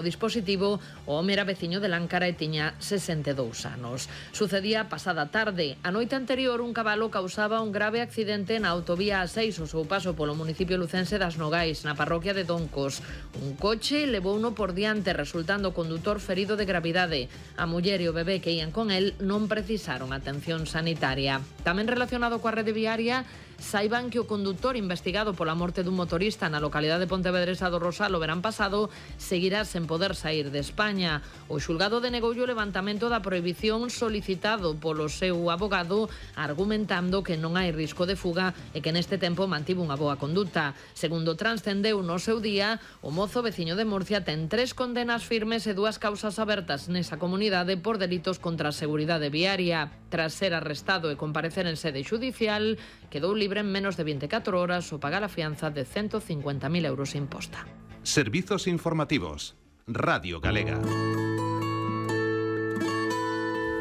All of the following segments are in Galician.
O dispositivo, o home era veciño de Láncara e tiña 62 anos. Sucedía pasada tarde. A noite anterior, un cabalo causaba un grave accidente na autovía A6 ao seu paso polo municipio lucense das Nogais, na parroquia de Doncos. Un coche levouno por diante, resultando o condutor ferido de gravidade. A muller e o bebé que ían con el non precisaron atención sanitaria. Tamén relacionado coa rede viaria, saiban que o condutor investigado pola morte dun motorista na localidade pontevedresa do Rosal o verán pasado seguirá sen poder sair de España. O xulgado denegoulle o levantamento da prohibición solicitado polo seu abogado, argumentando que non hai risco de fuga e que neste tempo mantivo unha boa conduta. Segundo transcendeu no seu día, o mozo veciño de Murcia ten 3 condenas firmes e 2 causas abertas nesa comunidade por delitos contra a seguridade viaria. Tras ser arrestado e comparecer en sede xudicial, quedou libre en menos de 24 horas o pagar a fianza de 150.000 euros imposta. Servizos informativos. Radio Galega.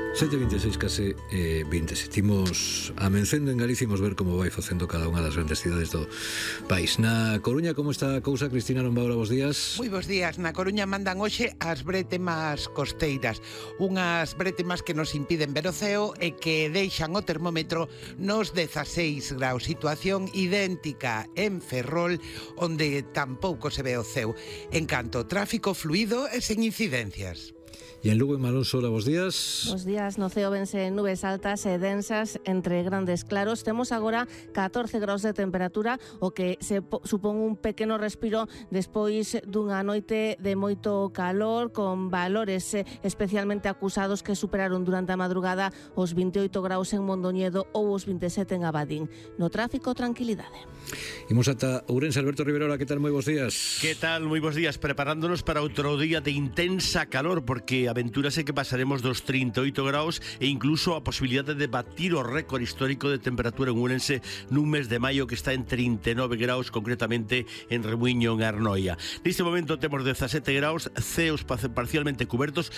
7:26, case 27. Imos amencendo en Galicia, imos ver como vai facendo cada unha das grandes cidades do país. Na Coruña, como está a cousa? Cristina Lombaura, bos días. Moi bos días. Na Coruña mandan hoxe as bretemas costeiras, unhas bretemas que nos impiden ver o ceo e que deixan o termómetro nos 16 graus. Situación idéntica en Ferrol, onde tampouco se ve o ceo. En canto tráfico fluido e sen incidencias. E en Lugo, en Malón Sola, bos días. Bos días, no ceo vense nubes altas e densas entre grandes claros. Temos agora 14 graus de temperatura, o que se supón un pequeno respiro despois dunha noite de moito calor, con valores especialmente acusados que superaron durante a madrugada os 28 graus en Mondoñedo ou os 27 en Abadín. No tráfico, tranquilidade. Imos ata Ourense. Alberto Riverola, que tal? Moi bos días. Que tal? Moi bos días. Preparándonos para outro día de intensa calor, porque aventúrase que pasaremos dos 38 graus e incluso a posibilidade de batir o récord histórico de temperatura en Ourense nun mes de maio que está en 39 graus, concretamente en Remuiño, en Arnoia. Neste momento temos 17 graus, ceos parcialmente cubertos,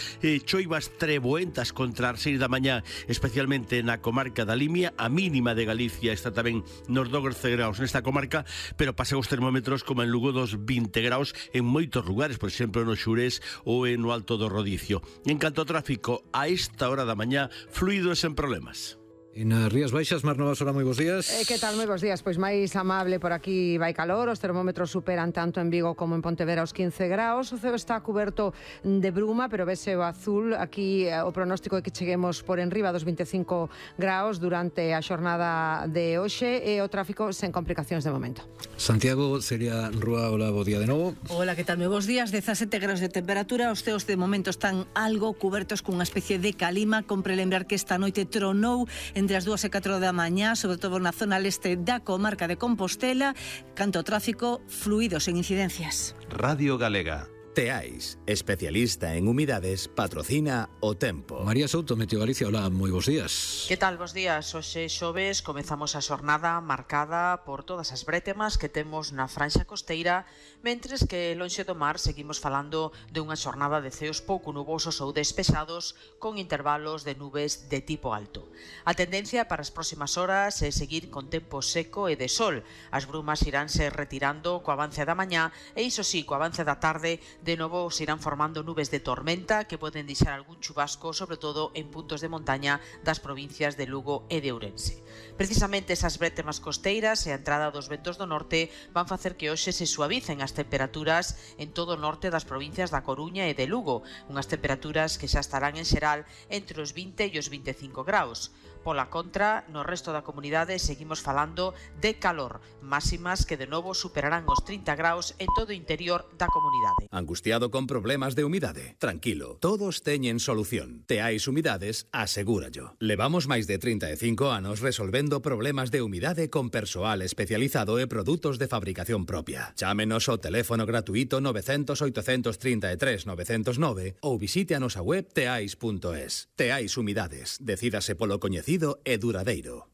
choivas treboentas contra as 6 da mañá, especialmente na comarca da Limia. A mínima de Galicia está tamén nos 12 graus nesta comarca, pero pasan os termómetros como en Lugo dos 20 graus en moitos lugares, por exemplo no Xurés ou no Alto do Rodicio. En canto ao tráfico, a esta hora da mañá, fluido e sen problemas. E nas Rías Baixas, Mar Novasora, moi bos días. Que tal? Moi bos días. Pois máis amable por aquí vai calor, os termómetros superan tanto en Vigo como en Pontevedra os 15 graus, o ceo está cuberto de bruma, pero vese o azul. Aquí o pronóstico é que cheguemos por enriba dos 25 graus durante a xornada de hoxe e o tráfico sen complicacións de momento. Santiago, Celia Rúa, hola, bo día de novo. Hola, que tal? Moi bos días. 17 graus de temperatura, os ceos de momento están algo cubertos cunha especie de calima. Compre lembrar que esta noite tronou entre as 2 e 4 da mañá, sobre todo na zona leste da comarca de Compostela. Canto ao tráfico, fluido sen incidencias. Radio Galega. Teais, especialista en humidades, patrocina o tempo. María Souto, Meteo Galicia, hola, moi bos días. Que tal? Bos días. Hoxe xoves comezamos a xornada marcada por todas as brétemas que temos na franxa costeira, mentres que lonxe do mar seguimos falando de unha xornada de ceos pouco nubosos ou despexados con intervalos de nubes de tipo alto. A tendencia para as próximas horas é seguir con tempo seco e de sol. As brumas iránse retirando co avance da mañá e iso sí, co avance da tarde de novo se irán formando nubes de tormenta que poden deixar algún chubasco, sobre todo en puntos de montaña das provincias de Lugo e de Ourense. Precisamente esas brétemas costeiras e a entrada dos ventos do norte van facer que hoxe se suavicen as temperaturas en todo o norte das provincias da Coruña e de Lugo, unhas temperaturas que xa estarán en xeral entre os 20 e os 25 graus. Pola contra, no resto da comunidade seguimos falando de calor, máximas que de novo superarán os 30 graus en todo o interior da comunidade. Angustiado con problemas de humidade? Tranquilo, todos teñen solución. Teais Humidades, asegúrallo. Levamos máis de 35 anos resolvendo problemas de humidade con persoal especializado e produtos de fabricación propia. Chámenos ao teléfono gratuito 900 833 909 ou visite a nosa web teais.es. Teais Humidades, decídase polo coñecido e duradeiro.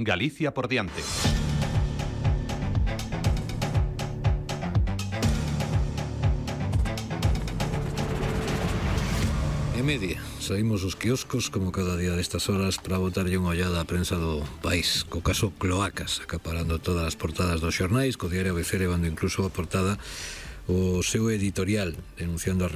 Galicia por diante. E media, saímos os quioscos como cada día destas horas para botarlle unha ollada á prensa do país, co caso Cloacas acaparando todas as portadas dos xornais, co diario ABC levando incluso a portada o seu editorial denunciando a